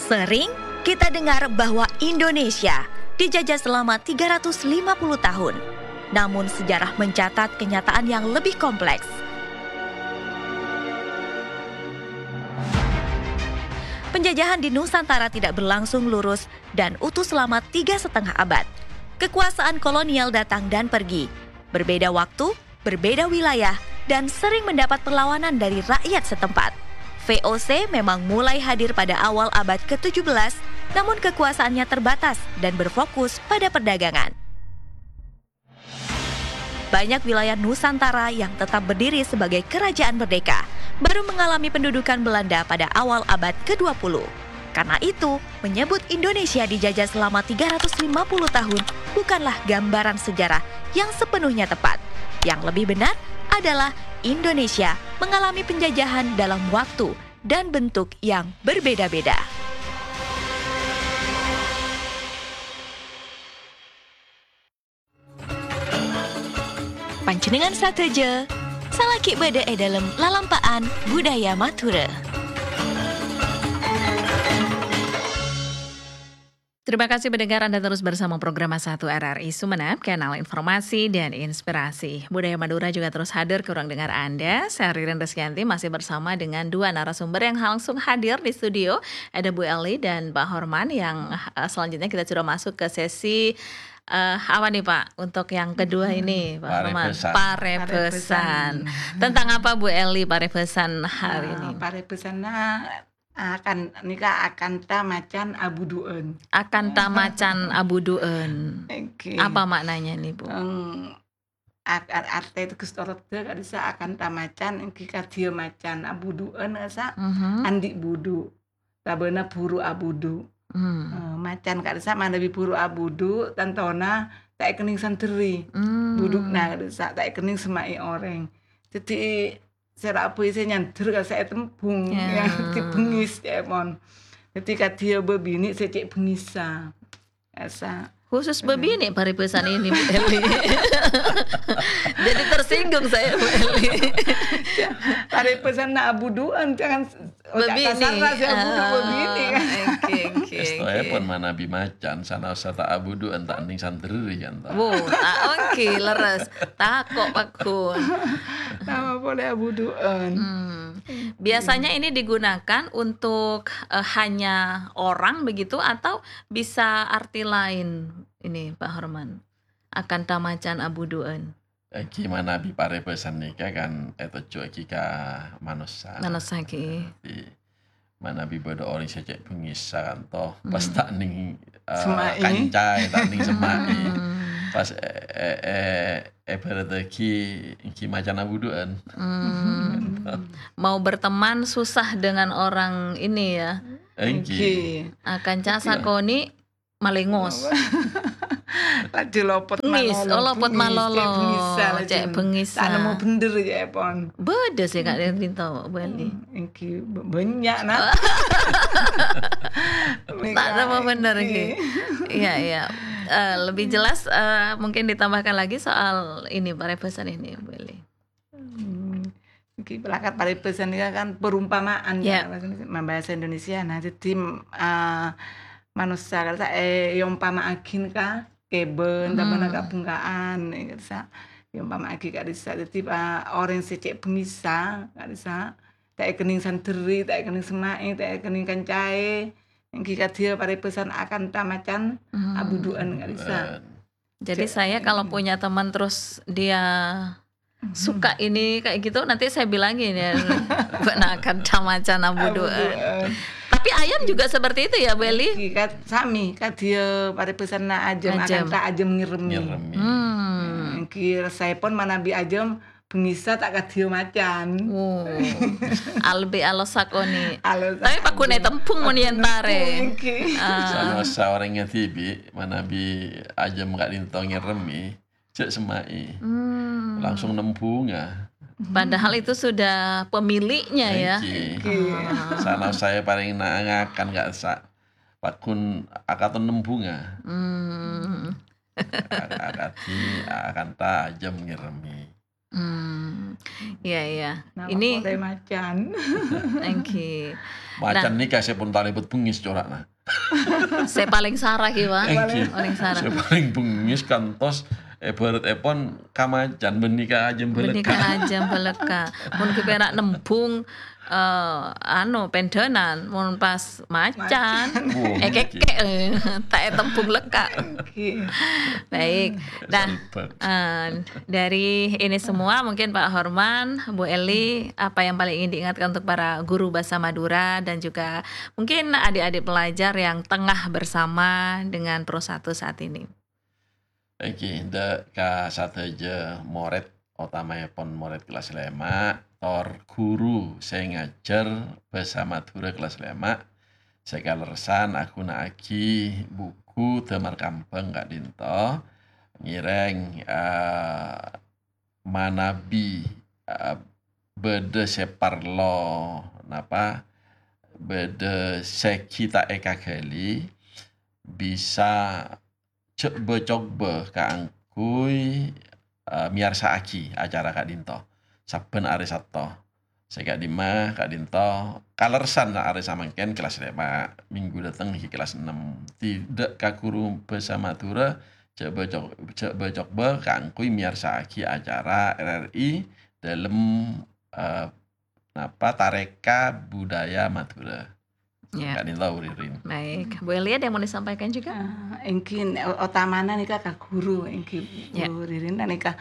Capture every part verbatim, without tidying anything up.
Sering kita dengar bahwa Indonesia dijajah selama tiga ratus lima puluh tahun. Namun sejarah mencatat kenyataan yang lebih kompleks. Penjajahan di Nusantara tidak berlangsung lurus dan utuh selama tiga setengah abad. Kekuasaan kolonial datang dan pergi. Berbeda waktu, berbeda wilayah, dan sering mendapat perlawanan dari rakyat setempat. V O C memang mulai hadir pada awal abad ketujuh belas, namun kekuasaannya terbatas dan berfokus pada perdagangan. Banyak wilayah Nusantara yang tetap berdiri sebagai kerajaan merdeka baru mengalami pendudukan Belanda pada awal abad kedua puluh. Karena itu, menyebut Indonesia dijajah selama tiga ratus lima puluh tahun bukanlah gambaran sejarah yang sepenuhnya tepat. Yang lebih benar adalah Indonesia mengalami penjajahan dalam waktu dan bentuk yang berbeda-beda. Panjhennengngan sadhâjâ, salaghi bâdâ è dâlem lalampa'an budaya Madhurâ. Terima kasih pendengar, Anda terus bersama program Satu R R I Sumenep, kanal informasi dan inspirasi. Budaya Madura juga terus hadir ke ruang dengar Anda. Saya Ririn Rizkyanti masih bersama dengan dua narasumber yang langsung hadir di studio. Ada Bu Eli dan Pak Horman yang, eh, selanjutnya kita sudah masuk ke sesi, eh, apa nih, Pak? Untuk yang kedua ini, Pak Horman. Parebesan. Parebesan. Parebesan. Tentang apa, Bu Eli, parebesan hari ini? Ah, parebesanna akan, nika akanta macan abudu'ân. Akanta macan abudu'ân. Oke. Apa maknanya nih, Bu? Em, ak-, ar-, arte teges torodda ka'dissa' akanta macan, èngghi kadhiyâ macan abudu'ân, ka'dissa' Mhm. andi' budu', sabâna buru abudu'. Hmm. Eh, macan ka'dissa' manabi buru abudu', tantona ta' èkennèng sanderri. Hmm. Budu'na ka'dissa' ta' èkennèng semma'è orèng. Dhâddhi, sèra abâi sè nyander ka sè ètembhung, Ya. ya, dhâddhi bengngis, ca'èpon. Dhâddhi kadhiyâ bâbinè' sè cè' bengngissa. Ka'dissa'. Khusus bâbinè' parebesan ini, Bu Eli. Jadi tersinggung saya, Bu Eli. Ya, parebesanna abudu'ân, jangan s-, oca' Bâbinè'. Kasarra sè abudu' Ah, bâbinè', kan. Oke, oke, Èstoèpon oke. manabi macan, sanaossa ta' abudu'ân, ta' ènèng sanderri, kan, ta'? Wo, ta-, oke, leres. Tako' pagghun. Nama polè abudu'ân. Hmm. Biasanya ini digunakan untuk, eh, hanya orang begitu atau bisa arti lain ini, Pak Horman? Akanta macan abudu'ân. Èngghi manabi parebesan nèka kan ètojjhuwâghi ka manossa. Manossa, ghi. Dhâddhi, manabi bâdâ orèng sè cè' bengngissa kan to, pas Hmm. ta' ènèng, eh, Semma'è. kancaè, ta' ènèng semma'è. Hmm. Pas, eh, eh, eh, èbhârâddhâghi èngghi macan abudu'ân. Hmm. Mau berteman susah dengan orang ini ya. Èngghi. Èngghi. Ah, kanca Èngghi. sakonè' malèngos. Laju lopot Bengngis, malolo, oh, lopot bengngis, malolo. cè' bengngissa, laju Cè' bengngissa. ta' nemmo bhender, ca'èpon. Bâdâ sè ka' Hmm. rinto, Bu Eli. Hmm, èngghi b-, bânnya', nah. Ta' nemmo bhender, Èngghi. ghi. Iya, iya. Eh, lebih jelas, eh, mungkin ditambahkan lagi soal ini, parebesan ini, Bu Eli. Hmm. Iki pelakat parebesan nèka kan perumpamaan, Ya. kan, bahasa Indonesia. Nah, jadi, eh, manossa ka'dissa', eh, èompama'aghi ka kèbân, tabâna Hmm. kabhungka'an, ka'dissa'. Èompama'aghi ka'dissa'. Jadi, eh, orèng sè cè' bengngissa, ka'dissa', ta' èkennèng sanderri, ta' èkennèng semma'è, ta' èkennèng kancaè, èngghi kadhiyâ parebesan akanta macan Hmm. abudu'ân, ka'dissa'. Abudu'ân. Jadi, Cè', saya kalau hmm. punya teman terus dia Hmm. suka ini kayak gitu, nanti saya bilangin ya, "Bâ'na akanta macan abudu'ân." Abudu'ân. Tapi ayam juga seperti itu ya, Bu Eli? Èngghi, kat-, sami, kadhiyâ parebesanna ajâm, Ajâm. akanta ajâm ngèrèmè. Ngèrèmè. Hmm. Èngghi, rassèpon manabi ajâm bengngissa ta' kadhiyâ macan. Wo. Lebbi alos sakonè'. Alos Tapi sakonè'. pagghun ètembhung mon Pagghun èntarè. ètembhung, èngghi. Ah. Sanaossa orèngnga dhibi', manabi ajâm ka'dinto ngèrèmè, jhâ' semma'è. Hmm. Langsung nembhunga. Padahal itu sudah pemiliknya, ya. Èngghi. Èngghi. Ah. Sanaossa èparèng na-, ngakan ka'dissa'. Pagghun akaton nembhunga. Hmm. Ak-, akadhi, akanta ajâm ngèrèmè. Hmm. Iyâ, iyâ. Nah, Ini pokoknya macan. Èngghi. Macan Nah. nèka sè pon talèbât bengngès cora'na. Sè palèng sara, ghi, Pak. Èngghi. Palèng sara. Sè palèng bengngès kantos èbhârât èpon ka macan, bânnè ka ajâm Bânnè ka bâlâkka'. ajâm bâlâkka'. Mon ghi pèra' nembhung, eh, anu, pèndhânan, mon pas macan, Macan. Wah, èkèkè', eh, ta' ètembhung lekka'. Èngghi. Baik. Nah, Salbâk. eh, dari ini semua, mungkin Pak Horman, Bu Eli, apa yang paling ingin diingatkan untuk para guru bahasa Madura dan juga mungkin adik-adik pelajar yang tengah bersama dengan Pro satu saat ini? Èngghi, dâ' ka sadhâjâ morèd, otamaèpon morèd kellas lèma', tor guru sè ngajhâr bhâsa Madhurâ kellas lèma', sè kalerressan aghuna'aghi buku Dâmar Kambhâng ka'dinto, ngèrèng, eh, manabi, eh, bâdâ sè parlo, napa, bâdâ sè ghi' ta' èkaghâli, bisa jhâ' bâ-coba kaangghuy, eh, mèyarsa'aghi acara ka'dinto sabbhân arè Satto. Sè ka'dimma ka'dinto kalerressan arè samangkèn kellas lèma', minggu dâteng ghi' kellas ennem. Tèdâ' ka guru bhâsa Madhurâ, jhâ' bâ-co-, jhâ' bâ-coba kaangghuy mèyarsa'aghi acara R R I dâlem, eh, napa, Tarèka Budaya Madhurâ. Ya. Ka'dinto, Bu Ririn. Baik. Bu Eli, ada yang mau disampaikan juga? Ah, èngghi, o-, otamana nèka ka guru, èngghi, Ya. Bu Ririn, nèka,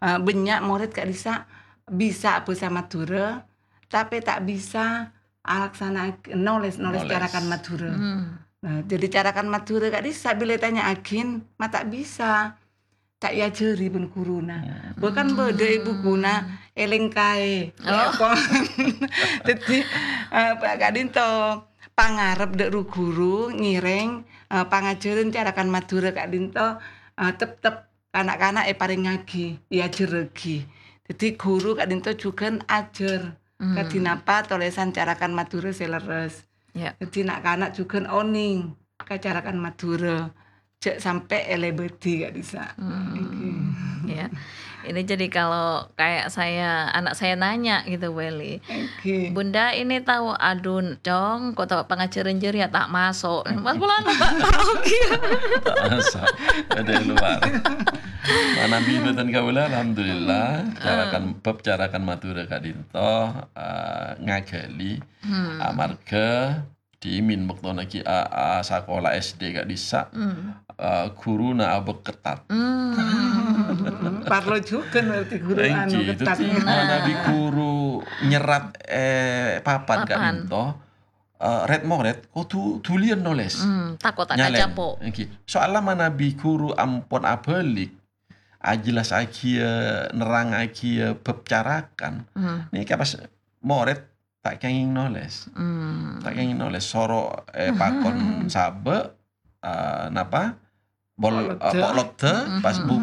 eh, bânnya' morèd ka'dissa' bisa bhâsa Madhurâ, tapè ta' bisa alaksana'aghi nolès, nolès Nolès. carakan Madhurâ. Hmm. Nah, jadi carakan Madhurâ ka'dissa' bilâ ètanya'aghin, ma' ta' bisa. Ta' èajhâri bân ghuruna. Hmm. Bahkan bâdâ è bukuna èlèngkaè. Oh. Dâddhi, eh, pa-, ka'dinto pangarep dâ' ru-ghuru ngèrèng, eh, pangajhârân carakan Madhurâ ka'dinto, eh, teptep na'-kana' èparèngngaghi, èajhârrâghi. Dâddhi ghuru ka'dinto jhughân ajhâr. Hmm. Kadhi napa tolèsan carakan Madhurâ sè lerres. Ya. Dâddhi na'-kana' jhughân onèng ka carakan Madhurâ. Jhâ' sampè' èlèbâdhi ka'dissa'. Hmm. Èngghi. Ya. Ini jadi kalau kayak saya, anak saya nanya gitu, Bu Eli. Èngghi. "Bunda, ini tahu adun, Cong, kok tahu pangajhârân jârèya ta' maso'?" Pas kula ta' tahu, gitu. Ta' maso'. Ada yang luar. Manabi bhâdhân kaulâ, alhamdulillah. Carakan, bab carakan Madhurâ ka'dinto, eh, ngaghâli. Hmm. Amarga dhimèn bâktona ghi' a-, a-, sakola S D ka'dissa', Hmm. eh, ghuruna abâk ketat. Hmm. Parlo jhughân berarti ghuru anu Èngghi, ketat. Dâddhi manabi ghuru nyerrat, eh, papan Papan. ka'dinto, eh, rèd-morèd kodhu dhuliyân nolès. Hmm, tako' ta' Nyalèn. kacapo'. Èngghi. Soalla manabi ghuru ampon abâlik, ajhellasaghiyâ, nerrangngaghiyâ bab carakan. Hmm. Nèka pas morèd ta' kèngèng nolès. Hmm. Ta' kèngèng nolès. Soro, eh, pakon sabâ', eh, napa? Pol-, Pok lodhâ. eh, pok lodhâ, Hmm. pas bu-,